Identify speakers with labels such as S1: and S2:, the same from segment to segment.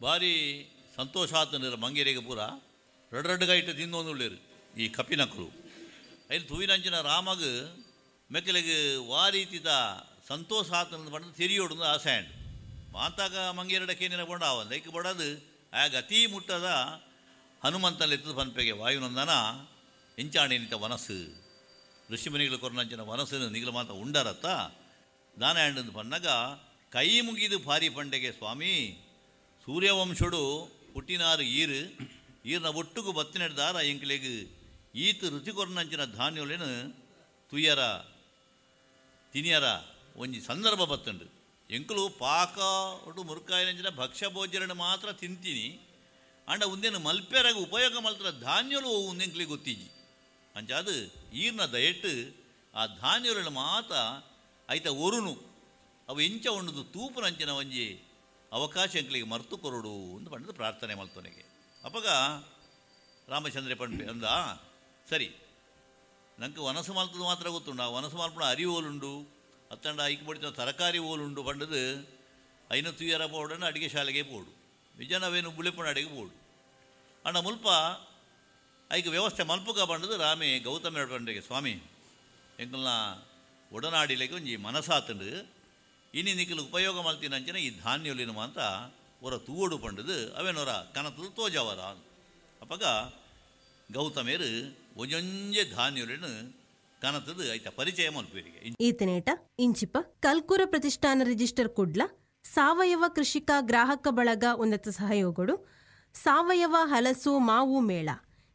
S1: ಭಾರಿ ಸಂತೋಷ ಆತಂದ್ರೆ ಮಂಗೇರಿಗೆ ಪೂರ ರಡ್ ರಡ್ಡ್ ಗೈಟ್ ತಿಂದೊಂದುಳ್ಳೇರು ಈ ಕಪಿನಕುಲು. ಐನ್ ತೂವಿನಂಚಿನ ರಾಮಗ್ ಮೆಕ್ಕಲಿಗೆ ವಾರೀತಿದ ಸಂತೋಷ ಆತನ ಪಂಡ ತೆರಿಯೋಡು ಆಸೆ ಆಂಡ್. ಮಾತಾಗ ಮಂಗೇರಡ ಕೇನಿನ ಬೋಂಡ ಆವಂದ ಐಕ್ ಬಡದು ಆಗ ಅತೀ ಮುಟ್ಟದ ಹನುಮಂತನ ಎತ್ತದ ಪನ್ಪೆಗೆ ವಾಯುನಂದನ ಎಂಚಾಣೆನಿತ ವನಸ್ಸು ಋಷಿಮುನಿಗಳು ಕೊರನಂಚಿನ ವನಸ್ಸು ನಿಗಲ ಮಾತ ಉಂಡರತ್ತ ದಾನ ಆಂಡ್ ಪನ್ನಗ ಕೈ ಮುಗಿದು ಭಾರಿ ಪಂಡೆಗೆ ಸ್ವಾಮಿ ಸೂರ್ಯವಂಶುಡು ಪುಟ್ಟಿನಾರು ಈರು ಈರ್ನ ಒಟ್ಟುಗು ಬತ್ತಿನೆಡ್ದಾರ ಎಂಕ್ಲೆಗ್ ಈತ ರುಚಿ ಕೊರನಂಚಿನ ಧಾನ್ಯೊಲೆನು ತುಯ್ಯರ ತಿನಿಯರ ಒಂಜಿ ಸಂದರ್ಭ ಬತ್ತುಂಡು. ಎಂಕುಲು ಪಾಕ ಒಟ್ಟು ಮುರುಕಾಯಿನಂಚಿನ ಭಕ್ಷ್ಯ ಭೋಜನ ಮಾತ್ರ ತಿಂತೀನಿ ಅಂಡ ಉಂದೇನು ಮಲ್ಪೆರಾಗ ಉಪಯೋಗ ಮಲ್ತರ ಧಾನ್ಯಲು ಉಂದೆಂಕ್ಲಿಗೆ ಗೊತ್ತಿಜ್ಜಿ. ಅಂಚಾದು ಈರ್ನ ದಯೆಟ್ಟು ಆ ಧಾನ್ಯೊಲೆನ ಮಾತ ಐತ ಒರುನು ಅವು ಎಂಚ ಉಂಡುದು ತೂಪುನಂಚಿನ ಒಂಜಿ ಅವಕಾಶ ಎಂಕ್ಲಿಗೆ ಮರ್ತು ಕೊರಡು ಅಂತ ಪಂಡದು ಪ್ರಾರ್ಥನೆ ಮಲ್ತೊನೆಗೆ. ಅಪಗ ರಾಮಚಂದ್ರ ಪಂಪೆ ಅಂದ ಸರಿ ನಂಗೆ ವನಸು ಮಲ್ತದ್ದು ಮಾತ್ರ ಗೊತ್ತುಂಡು, ಆ ವನಸು ಮಲ್ಪುಣ ಅರಿ ಓಲುಂಡು ಅತ್ತಂಡ ಐಕ್ ಬಡಿತ ತರಕಾರಿ ಓಲುಂಡು ಪಂಡದು ಐನ ತುಯ್ಯರ ಪೋಡಂಡ ಅಡಿಗೆ ಶಾಲೆಗೆ ಪೋಡು ನಿಜನವೇನು ಬುಳೆಪುಣ ಅಡಿಗೆ ಪೋಡು ಅಂಡ ಮುಲ್ಪ ಐಕ್ ವ್ಯವಸ್ಥೆ ಮಲ್ಪುಗ ಪಂಡದು ರಾಮೆ ಗೌತಮ ಪಂಡೆಗೆ ಸ್ವಾಮಿ ಎಂಕಲ್ನ ಒಡನಾಡಿಲೆಗೆ ಒಂಜಿ ಮನಸಾತಂಡು ಇನಿ ನಿಖಲು ಉಪಯೋಗ ಮಲ್ತಿನಂಚಿನ ಈ ಧಾನ್ಯೊಲಿನ ಮಾತ ಒರ ತೂವಡು ಪಂಡದು ಅವೇನೊರ ಕನತದು ತೋಜವರ. ಅಪಗ ಗೌತಮೇರು ಒಂಜೊಂಜೆ ಧಾನ್ಯೊಲಿನ ಕನತದು ಐತ ಪರಿಚಯ ಮಲ್ಪುವರಿಗೆ.
S2: ಈತನೇಟ ಇಂಚಿಪ ಕಲ್ಕೂರ ಪ್ರತಿಷ್ಠಾನ ರಿಜಿಸ್ಟರ್ ಕುಡ್ಲ ಸಾವಯವ ಕೃಷಿಕ ಗ್ರಾಹಕ ಬಳಗ ಉನ್ನತ ಸಹಯೋಗಡು ಸಾವಯವ ಹಲಸು ಮಾವು ಮೇಳ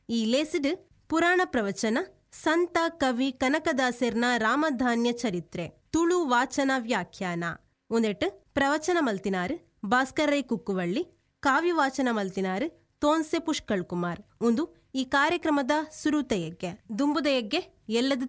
S2: ಈ ಲೇಸಿಡ್ ಪುರಾಣ ಪ್ರವಚನ ಸಂತ ಕವಿ ಕನಕದಾಸೆರ್ನ ರಾಮಧಾನ್ಯ ಚರಿತ್ರೆ ತುಳು ವಾಚನ ವ್ಯಾಖ್ಯಾನ ಒಂದೆಟ್ಟು ಪ್ರವಚನ ಮಲ್ತಿನಾರು ಭಾಸ್ಕರ್ ರೈ ಕುಕ್ಕುವಳ್ಳಿ, ಕಾವ್ಯ ವಾಚನ ಮಲ್ತಿನಾರು ತೋನ್ಸೆ ಪುಷ್ಕಳ್ ಕುಮಾರ್. ಒಂದು ಈ ಕಾರ್ಯಕ್ರಮದ ಸುರುತ ಯಜ್ಞೆ ದುಂಬುದ ಯಜ್ಞೆ ಎಲ್ಲದ.